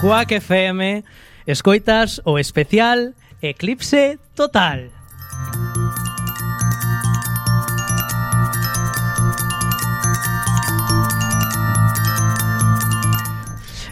Quack FM, escoitas o especial Eclipse Total.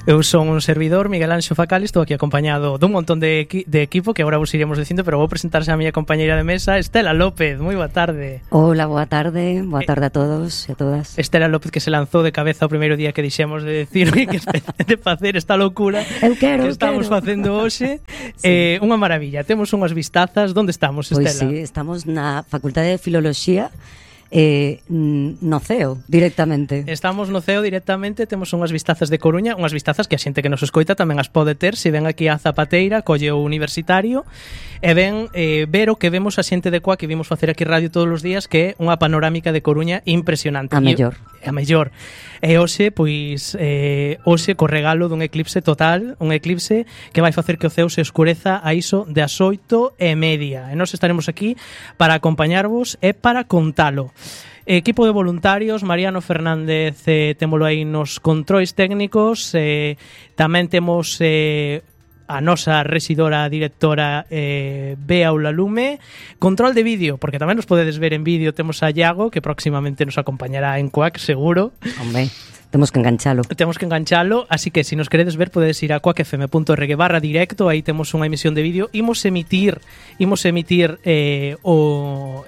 Eu son un servidor, Miguel Anxo Facal, estou aquí acompañado dun montón de equipo que agora vos iremos dicindo, pero vou presentarse a miña compañeira de mesa, Estela López. Moi boa tarde. Hola, boa tarde a todos e a todas. Estela López, que se lanzou de cabeza o primeiro día que dixemos de decir que de facer esta locura que estamos facendo hoxe. Sí. Unha maravilla, temos unhas vistazas. Onde estamos, Estela? Pois sí, estamos na Facultade de Filoloxía, no CEO directamente. Estamos no CEO directamente, temos unhas vistazas de Coruña, unhas vistazas que a xente que nos escoita tamén as pode ter se ven aquí a Zapateira, colle o universitario e ven ver o que vemos a xente de Coa que vimos facer aquí radio todos os días, que é unha panorámica de Coruña impresionante. A mellor. E hoxe, pois, hoxe co regalo dun eclipse total, un eclipse que vai facer que o ceo se escureza a iso de as 8:30. E nós estaremos aquí para acompañarvos e para contalo. Equipo de voluntarios, Mariano Fernández, témolo aí nos controis técnicos, tamén temos a nosa residora directora Bea Ulalume, control de vídeo, porque tamén nos podedes ver en vídeo, temos a Iago, que próximamente nos acompañará en Quack, seguro. Hombre, temos que enganchalo, así que se nos queredes ver podedes ir a quackfm.org/directo, aí temos unha emisión de vídeo. Imos emitir o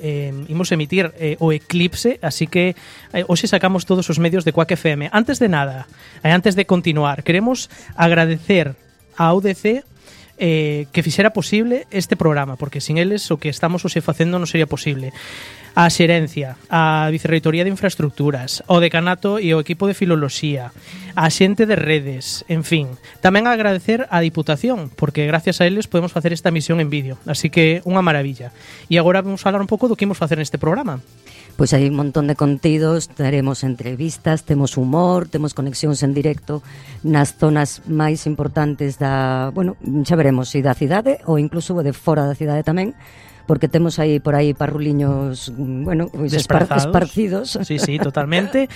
eclipse, así que hoxe sacamos todos os medios de Quack FM. Antes de nada, antes de continuar, queremos agradecer a UDC que fixera posible este programa, porque sin eles o que estamos hoxe facendo non sería posible. A Xerencia, a Vicerreitoría de Infraestructuras, o Decanato e o equipo de Filoloxía, a xente de redes, en fin. Tamén agradecer a Diputación, porque gracias a eles podemos facer esta emisión en vídeo, así que unha maravilla. E agora vamos falar un pouco do que imos facer neste programa. Pois hai un montón de contidos, teremos entrevistas, temos humor, temos conexións en directo nas zonas máis importantes da, bueno, xa veremos se da cidade ou incluso de fora da cidade tamén, porque temos aí por aí parruliños, bueno, pues esparcidos. Sí, totalmente.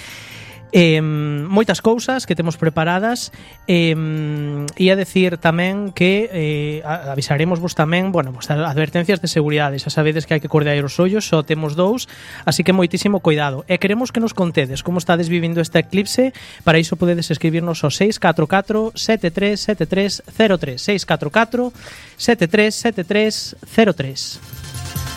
Moitas cousas que temos preparadas, e a decir tamén que avisaremos vos tamén, bueno, pues, advertencias de seguridade. Xa sabedes que hai que cordear os ollos, só temos dous, así que moitísimo cuidado. E queremos que nos contedes como estades vivindo este eclipse. Para iso podedes escribirnos ao 644 737303, 644 737303.